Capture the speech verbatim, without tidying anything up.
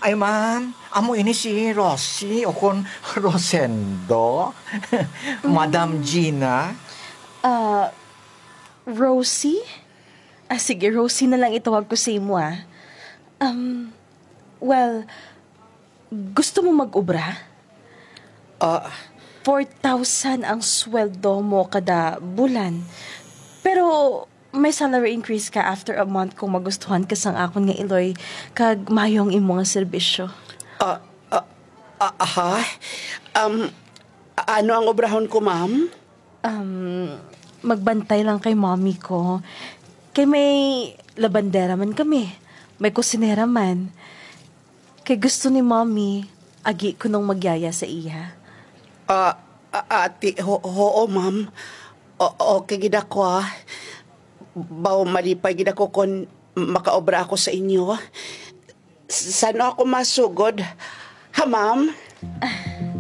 Ay, ma'am, amo ini si Rosie o kon Rosendo. Madam Gina. Ah, Rosie? Ah, sige, Rosie na lang itawag ko sa imo, ah. Um, well, gusto mo mag-obra? Ah, Four thousand ang sweldo mo kada bulan. Pero may salary increase ka after a month kung magustuhan ka sang akon nga iloy kag maayo ang imo nga serbisyo. ah, ah, ah, ha? Um, ano ang obrahon ko, ma'am? Um, magbantay lang kay mommy ko. Kay may labandera man kami. May kusinera man. Kay gusto ni mommy, agi ko nung magyaya sa iya. Ah, ah, ate, ho, oo, ma'am. O, okay gid ako, ah. Baw malipay gid ako kon makaobra ako sa inyo. S- sano ako masugod? Ha, ma'am?